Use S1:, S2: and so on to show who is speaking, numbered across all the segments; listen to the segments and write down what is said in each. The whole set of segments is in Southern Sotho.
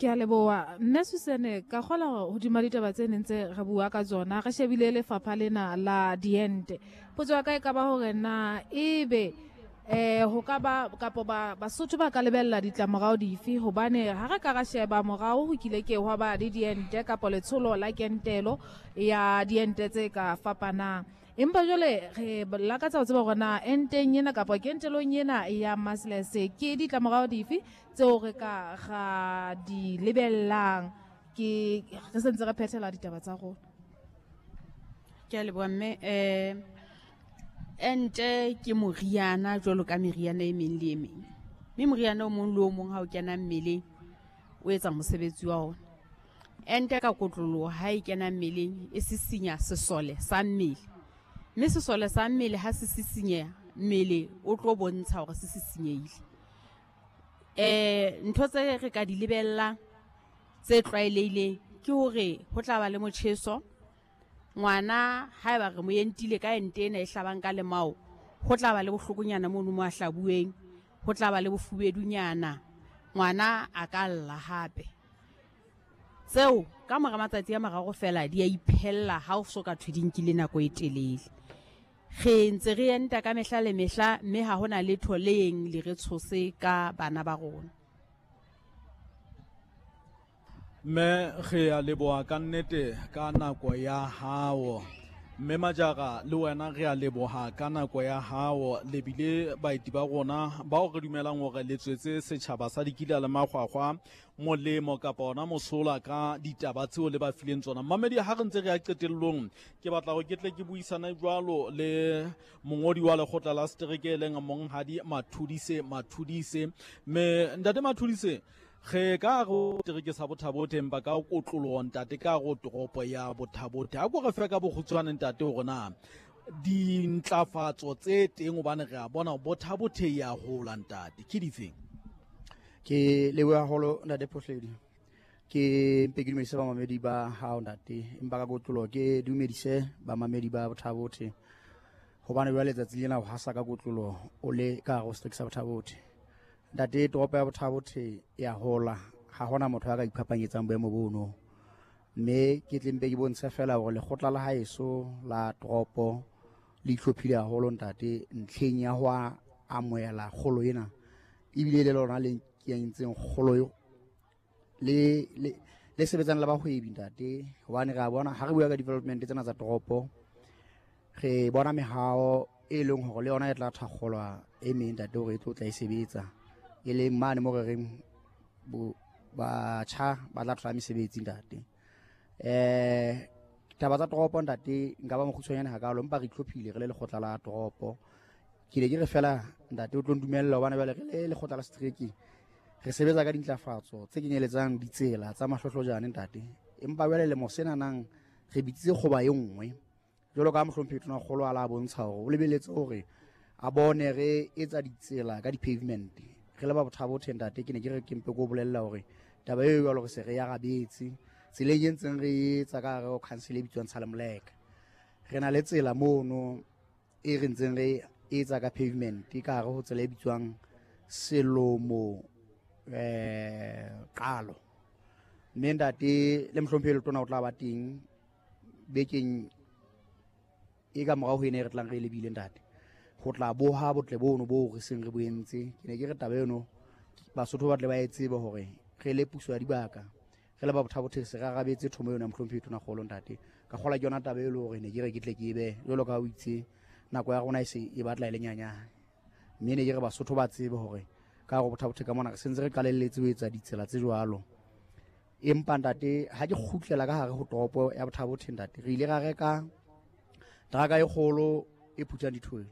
S1: Ke a leboha. Mme Susane, ka kgola hore hodima ditaba tse neng tse re bua ka tsona, re shebile lefapha lena la diente. Potso ya ka e ka ba hore na ebe eh ho ka ba kapo ba Basotho ba ka lebella ditlamorao dife, hobane ha re ka ra sheba morao ho kile ke hwa ba le diente kapo letsholo la kentelo ya diente tse ka fapanang. Empa jwale re lakatsa ho tseba hore na enteng ena kapa kentelong ena ya measles ke ditlamorao dife tseo re ka ra di lebellang ke re sentse re phethela ditaba tsa rona.
S2: Ke a leboha mme. Ente ke moriana jwalo ka meriana e meng le e meng, mme moriana o mong le o mong ha o kena mmeleng o etsa mosebetsi wa ona. Ente ka kotloloho ha e kena mmeleng e sisinya sesole sa mmele, mme sesole sa mmele ha se sisinyeha mmele o tlo bontsha hore se sisinyehile. Ntho tse re ka di lebellang tse tlwaelehileng ke hore ho tla ba le motjheso. Ngwana haeba re mo entile ka ente ena e hlabang ka lemao, ho tla ba le bohlokonyana mono mo a hlabuweng, ho tla ba le bofubedunyana, ngwana a ka lla hape. Tseo ka mora matsatsi a mararo fela di a iphella ha o so ka thwe di nkile nako e telele. Re ntse re enta ka mehla le mehla, mme ha hona letho le yeng le re tshose ka bana ba rona.
S3: Mme re a leboha ka nnete ka nako ya hao. Mme Majara, le wena re a leboha ka nako ya hao. Le bile baeti ba rona bao re dumelang hore le tswetse setjhaba sa Dikila le Makgwakgwa molemo kapa ona mosola ka ditaba tseo le ba fileng tsona. Mmamedi, ha re ntse re ya qetellong, ke batla hore ke tle ke buisane jwalo le mongodi wa lekgotla la setereke e leng Monghadi Mathudise Mathudise. Mme Ntate Mathudise, re ka re setereke sa Bothabothe, empa ka kotloloho ntate ka go toropo ya Bothabothe. A ko re fe ka bokgutshwane ntate hore na dintlafatso tse teng, hobane re a bona Bothabothe ya hola ntate, ke difeng?
S4: Ke leboha haholo ntate Phohledi. Ke mpe ke dumedise bamamedi ba hao ntate, empa ka kotloloho ke dumedise bamamedi ba Bothabothe, hobane jwale letsatsi lena ho hasa ka kotloloho o le ka hare ho setereke sa Bothabothe. Ntate, toropo ya Bothabothe ya hola, ha hona motho a ka iphapanyetsang boemo bono. Mme ke tle mpe ke bontshe fela hore lekgotla la haeso la toropo le itlhophile haholo ntate ntlheng ya ho amohela kgolo ena, ebile le lona le kentseng kgolo eo, le sebetsang le bahwebi ntate, hobane re a bona ha re bua ka development tsena tsa toropo, re bona mehao e leng hore le yona e tla thakgolwa e meng ntate hore e tlo tla e sebetsa, e leng mane mo re reng batjha ba tla thola mesebetsi ntate. Taba tsa toropo ntate nka ba mokgutshwanyane hakalo, empa re itlhophile re le lekgotla la toropo. Ke ne ke re fela ntate o tlo ndumella, hobane jwale re le lekgotla la setereke re sebetsa ka dintlafatso tse kenyeletsang ditsela tsa mahlohlojane ntate, empa jwale lemo sena nang re bitsitse kgoba e nngwe jwalo ka mohlomphehi Tonakgolo a la bontsha hore o lebeletse hore a bone re etsa ditsela ka di-pavement. Re le ba Bothabothe ntate, ke ne ke re ke mpe ko bolella hore taba eo jwalo re se re arabetse tseleng e ntseng re etsa ka hare ho council e bitswang Tshalemoleka. Re na le tsela mono e re ntseng re etsa ka pavement ka hare ho tsela e bitswang Selomo Qalo. Mme ntate le mohlomphehi Letona o tla ba teng bekeng e ka morao ho ena e re tlang re e lebile ntate, ho tla boha botle bono boo re seng re bo entse. Ke ne ke re taba eno Basotho ba tle ba e tsebe hore re le puso ya dibaka, re le ba Bothabothe se re arabetse thomo eno ya mohlomphehi Tonakgolo ntate. Ka kgola ke yona taba e le hore ne ke re ke tle ke be jwalo ka ha o itse nako ya rona e se e batla e le nyanyane, mme ne ke re Basotho ba tsebe hore ka hare Bothabothe ka mona re sentse re qalelletse ho etsa ditsela tse jwalo. Empa ntate ha ke kgutlela ka hare ho toropo ya Bothabothe ntate, re ile ra reka teraka e kgolo e phuthang dithole.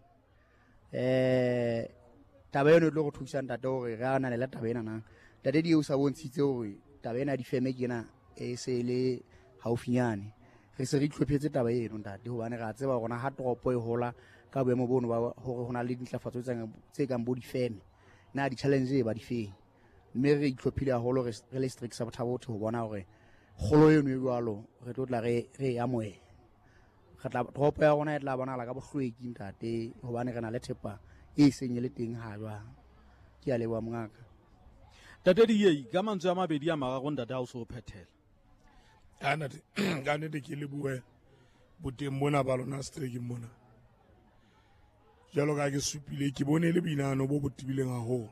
S4: Taba eno e tlo re thusa ntate hore re ananele taba ena na. Ntate di o sa bontshitse hore taba ena ya difeme ke ena e se e le haufinyane. Re se re itlhophetse taba eno ntate, hobane re a tseba hore na ha toropo e hola ka boemo bono ba hore ho na le dintlafatso tse kang bo difeme, na di-challenge e ba difeng. Mme re itlhophile haholo re le setereke sa Bothabothe ho bona hore kgolo eno e jwalo re tlo tla re e amohela. Re tla, toropo ya rona e tla bonahala ka bohlweki ntate, hobane re na le thepa e seng e le teng ha jwang. Ke a leboha mongaka.
S3: Tate Diei, ka mantswe a mabedi a mararo ntate ha o so o phethela.
S5: Ka ntate, ka nnete ke lebohe boteng mona ba lona seterekeng mona. Jwalo ka ke supile, ke bone e le boinahano bo bo tebileng haholo.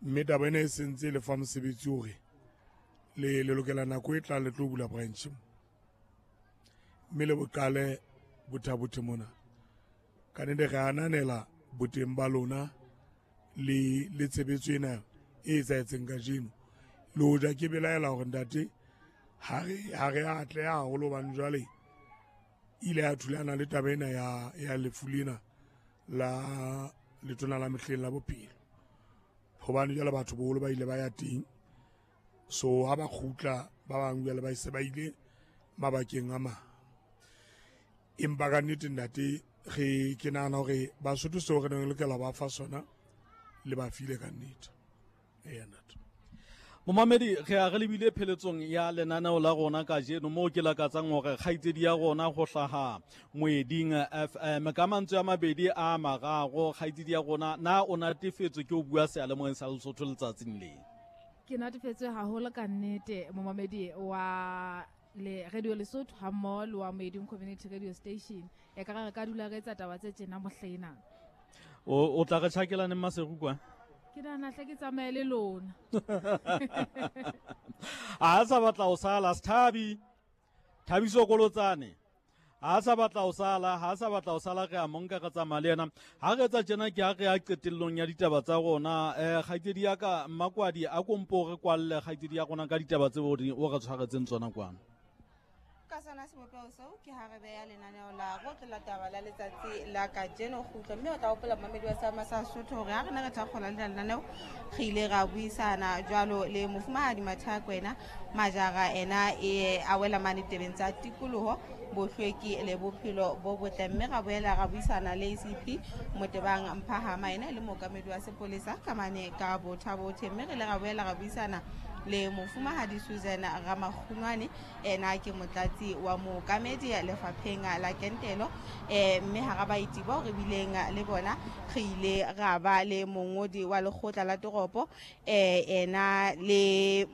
S5: Mme taba ena e sentse e le fa mosebetsi hore le le lokela nako e tlang le tlo bula branch mo. Mme le boqale bothabothe mona. Ka nnete re ananela boteng ba lona le le tshebetso ena e etsahetseng kajeno. Le hoja ke belaela hore ntate ha re ha re atleha haholo hobane jwale ile ya thulana le taba ena ya ya lefu lena la letona la mehleng la bophelo. Hobane jwale batho boholo ba ile ba ya teng, so ha ba kgutla ba bang jwale ba se ba ile mabakeng a mang. Empa ka nnete ntate re ke nahana hore Basotho seo re neng re lokela ba fa sona le ba file ka nnete. Eya ntate.
S3: Momamedi, re a re lebile pheletsong ya lenaneo la rona kajeno moo ke lakatsang hore kgaitsedi ya rona go hlaha Moeding FM ka mantswe a mabedi a mararo. Kgaitsedi ya rona, na o natefetswe ke ho bua seyalemoyeng sa Lesotho letsatsing le?
S1: Ke natefetswe haholo ka nnete, momamedi wa le Radio Lesotho ha mmoho le wa Moeding Community Radio Station. E ka re ka dula re etsa taba tse tjena mohlena.
S3: O tla re tjhakelaneng Maseru kwa?
S1: Ke nahana hle ke tsamaye le lona.
S3: A sa batla ho sala Sethabi. Thabiso Kolotsane. Ha sa batla ho sala, ha sa batla ho sala re a monka re tsamaya le yena. Ha re etsa tjena ke ha re ya qetellong ya ditaba tsa rona. Kgaitsedi ya ka Mmakwadi a kompo re kwalle kgaitsedi ya rona ka ditaba tseo o re tshwaretseng tsona kwano.
S6: Ka sona sebopeho seo ke ha re beha lenaneo la rotlo la taba la letsatsi la kajeno kgutlo, mme o tla hopola momamedi wa Seama sa Sotho hore ha re ne re thakgola lena lenaneo re ile ra buisana jwalo le mofumahadi Mathea Kwena Majara, ena e a wela mane tebeng tsa tikoloho, bohlweki le bophelo bo botle, mme ra boela ra buisana le ACP Motebang Mphahama, ena e le mookamedi wa sepolesa ka mane ka Bothabothe, mme re ile ra boela ra buisana le mofumahadi Susan Ramakgunwane, ena ke motlatsi wa mookamedi lefapheng la kentelo, mme hara baeti bao re bileng le bona re ile ra ba le mongodi wa lekgotla la toropo, ena le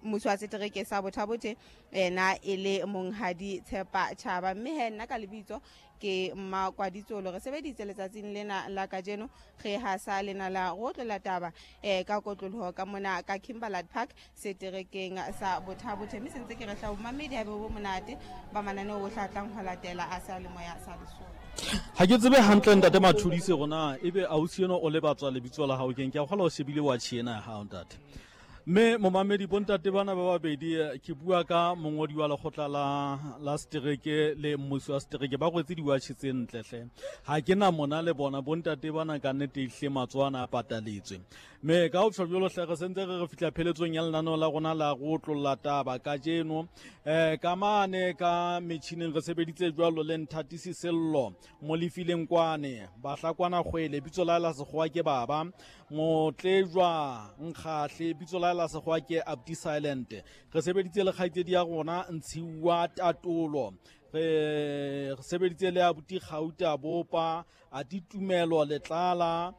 S6: mmuso wa setereke sa Bothabothe, ena e le monghadi Tshepa Tjhaba. Mme he nna ka lebitso ke Mmakwaditsolo. Re sebeditse letsatsing lena la kajeno re hasa lena la rotlo la taba ka kotloloho ka mona ka Kimberley Park seterekeng sa Bothabothe. Mme sentse ke re hla momamedi ha bo monate ba mananeo o hlatlang ho latela a sa le moya sa Lesotho.
S3: Ha ke tsebe hantle ntate Mathudise rona ebe ausi eno o lebatswa lebitso la hao keng, ke a kgola o shebile wa tjhena ya hao ntate. Mme momamedi bontate bana ba babedi ke bua ka mongodi wa lekgotla la setereke le mmusi wa setereke ba rwetse diwatjhe tse ntle hle. Ha ke na mona le bona bontate bana ka nnete ehlile matsoho ana a pataletswe. Mme ka ho tjho jwalo hle re sentse re re fihla pheletsong ya lenaneo la rona la go otlolla taba kajeno. Ka mane ka metjhineng re sebeditse jwalo le Nthatisi Sello Molefileng kwane Bahlakwana Kgwele bitso la la sekgowa ke baba Motlejwa Nkgahle bitso la la sekgowa ke Abdi Silent. Re sebeditse le kgaitsedi ya rona Ntshiwa Tatolo, re sebeditse le abuti Kgauta Bopa, Ati Tumelo Letlala,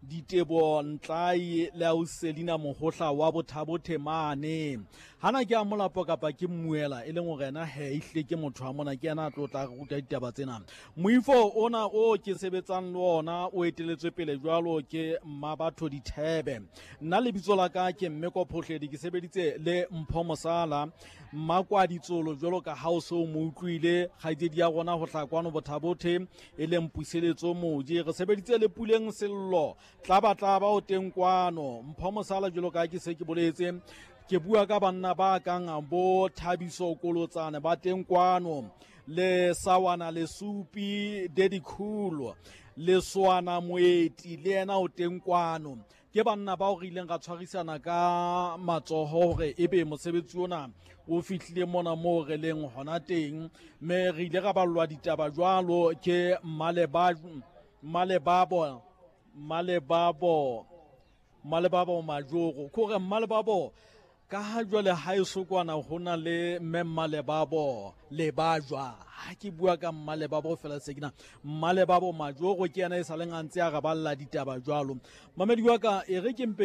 S3: Ditebo Ntlai le Auselina Mohohla wa Bothabothe mane. Hana ke a molapo kapa ke mmuela e leng hore ena he ehlile ke motho wa mona, ke yena a tlo tla re ruta ditaba tsena. Moifo ona o ke sebetsang le ona o eteletswe pele jwalo ke Mmabatho Dithebe. Nna lebitso la ka ke Mmeko Phohledi, ke sebeditse le Mpho Mosala Mmakwaditsolo jwalo ka ha o se o mo utlwile, kgaitsedi ya rona ho hlaha kwano Bothabothe e leng Puseletso Moji. Re sebeditse le Puleng Sello Tlabatlaba o teng kwano. Mpho Mosala jwalo ka ke se ke boletse, ke bua ka banna ba kang bo Thabiso Kolotsane ba teng kwano, le Sawana Lesupi Daddy Cool, le Soana Moeti le yena o teng kwano. Ke banna bao re ileng ra tshwarisana ka matsoho hore ebe mosebetsi ona o fihlile mona moo re leng hona teng, mme re ile ra ballwa ditaba jwalo ke Mmalebabo Majoro. Ke hore Mmalebabo Ka ha jwale ha e sokwana ho na le mme Mmalebabo Lebajwa. Ha ke bua ka Mmalebabo fela se kena Mmalebabo Majoro ke yena e sa leng a ntse a re balla ditaba jwalo. Mamedi wa ka e re ke mpe